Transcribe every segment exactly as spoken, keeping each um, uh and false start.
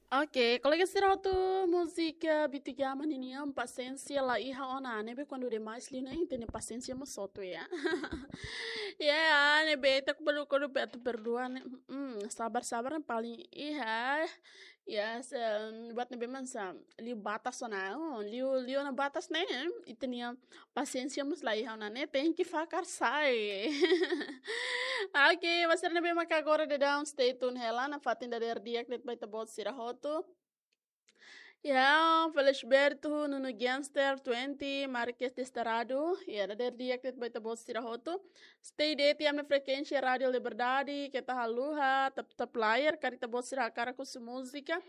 Oke, kolega sira hotu, múzika Bitu Jama ninian pasiénsia la iha ona, ne'ebé kuandu demais liu ne'e ita-nia pasiénsia mós hotu ya. Ya, ne'ebé ita kuandu kuandu be atu perdua ne'e, mm, sabar-sabar ne'e paling iha. Ya, se, buat ne'ebé mak hanesan liu batas ona, oh, liu, liu ona batas ne'e, ita-nia pasiénsia mós la iha ona ne'e, tenke fakar sai. Oke, ba sira ne'ebé maka agora daudaun stay tune hela, nafatin dadeer di'ak de'it ba ita-boot sira hotu. Ya, Felisberto, Nuno Gangster, Twenty, Marques Destarado. Ya, dadeer di'ak de'it ba ita-boot sira hotu. Stay de'it iha ami-nia frekuénsia Rádio Liberdade, keta haluha, tap, tap layar, karik ita-boot sira hakarak husu múzika.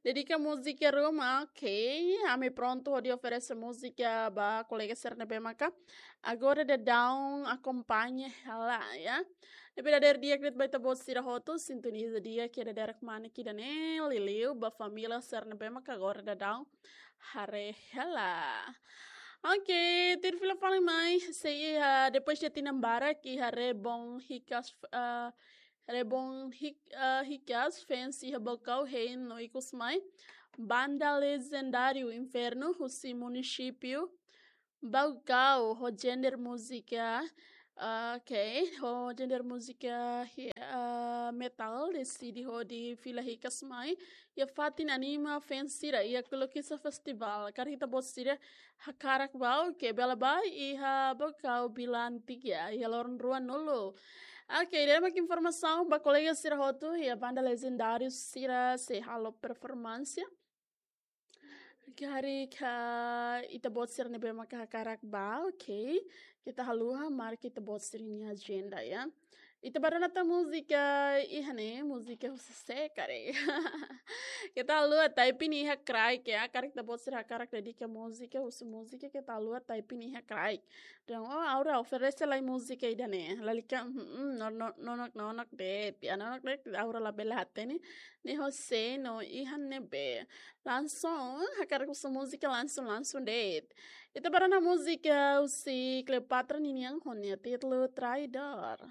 Dedika múzika ruma, oke. Ami prontu hodi oferese múzika ba kolega sira ne'ebé maka agora daudaun akompaña hela, ya. Ne'ebé dadeer di'ak de'it ba ita-boot sira hotu, sintoniza di'ak iha dadeer-manik ida-ne'e, liuliu ba família sira ne'ebé maka agora daudaun haree hela. Oke, tuir fila fali mai, sei iha, depois de tinan barak iha Rebon Hikas, ah, Rebon Hik-, ah, Hikas, fans iha Baucau hein no ikus mai. Banda legendáriu Inferno, husi munisípiu Baucau, ho genre múzika, ah, oke, ho genre múzika hi-, ah, metal, deside hodi fila hikas mai iha fatin anima fans sira iha Kulukisa Festival. Karik ita-boot sira hakarak bá, oke, bele bá iha Baucau Bilan Tiga, iha loron ruanulu. Oke, ida-ne'e mak informasaun ba kolega sira hotu, iha banda legendáriu sira sei halo performansia. Karik ita-boot sira ne'ebé maka hakarak bá, oke. Keta haluha, marka ita-boot sira-nia ajenda, ya. Ita bá rona tan múzika iha ne'e, múzika husi sé karik. Keta haluha, type nia iha kraik, ya. Karik ita-boot sira hakarak dedika múzika, husu múzika, keta haluha, type nia iha kraik. Dehan, oh, Aura oferese lai múzika ida-ne'e. Lalika, mm, no, no, nonok, nonok de'it. Ya, nonok de'it, Aura labele hatene. Ne'e ho sé no iha ne'ebé. Langsung, hakarak husu múzika langsung, langsung de'it. Ita bá rona múzika husi Cleopatra ninian ho nia títulu Traidor.